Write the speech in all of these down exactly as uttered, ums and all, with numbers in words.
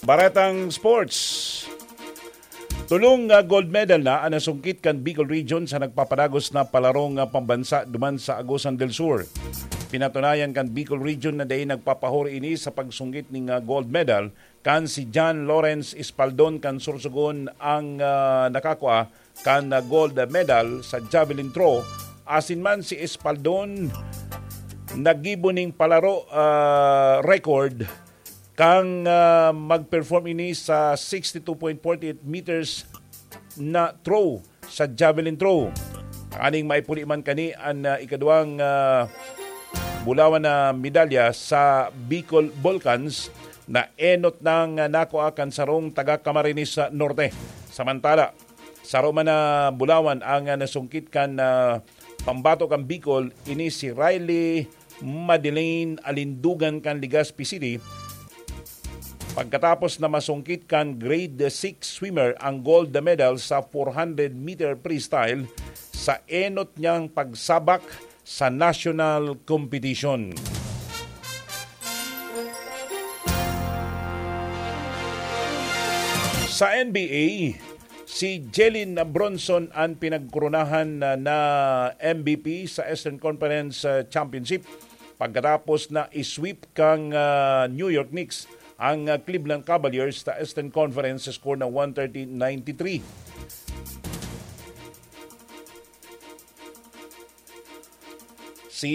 Baretang Sports. Tolong nga gold medal na ang nasungkit kan Bicol Region sa nagpapadagos na palarong nga pambansa duman sa Agusan del Sur. Pinatunayan kan Bicol Region na dai nagpapahuri ini sa pagsunggit ning, ah, gold medal kan si John Lawrence Espaldon kan Sorsogon ang, ah, nakakua kan, ah, gold medal sa javelin throw. Asin man si Espaldon naggibo ning palaro, ah, record kan, ah, mag-perform ini sa sixty-two point forty-eight meters na throw sa javelin throw. Aning maipuli man kani an, ah, ikaduwang, ah, bulawan na medalya sa Bicol Volcans na enot nang, ah, nakua kan sarong taga Camarines Norte. Samantala, saro man na bulawan ang, ah, nasungkit kan, ah, pambato kan Bicol, ini si Riley Madeleine Alindugan kan Legazpi City. Pagkatapos na masungkit kan grade six swimmer ang gold medal sa four hundred meter freestyle sa enot niyang pagsabak sa national competition. Sa N B A, si Jalen Brunson ang pinagkoronahan na, na M V P sa Eastern Conference, uh, Championship pagkatapos na i-sweep kang, uh, New York Knicks ang, uh, Cleveland Cavaliers sa Eastern Conference sa score na one thirty ninety-three. Si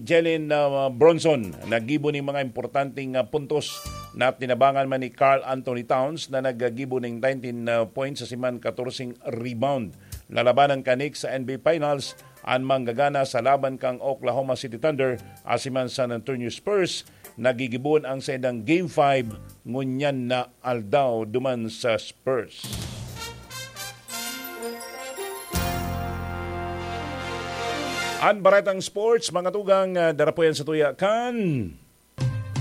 Jalen, uh, Brunson naggibo ning mga importanteng, uh, puntos na tinabangan man ni Karl Anthony Towns na naggibo ning nineteen, uh, points sa siman katorse rebound. Lalabanan kan Knicks sa N B A Finals an manggagana sa laban kan Oklahoma City Thunder asin man San Antonio Spurs. Nagigibohon ang saindang Game five ngunyan na aldaw duman sa Spurs. An Baretang Sports, mga tugang, ah, darapuyan sa tuya kan